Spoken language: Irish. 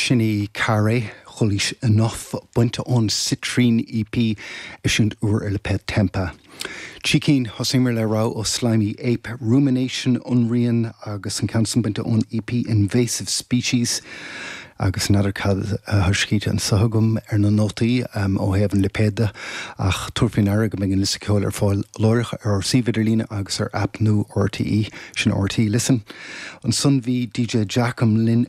Sin í Carhaix, Chulaois Enough, bainte ón Citrine EP, eisiúint úr ar lipéad Tempa. Trí cinn, thosaíomar le rogha ó Slimy Ape, Rumination, Ionrian, agus an ceann san bainte ón EP Invasive Species. Agus n'fheadar cad atá scríte anso agam ar na nótaí ó thaobh an lipéid de, ach tabhair faoi ndeara go mbeidh an liosta ceoil ar fáil láithreach ar ár suíomh idirlíne agus ar aip nua RTÉ, sin RTÉ Listen. Ansan bhí DJ Jackem linn.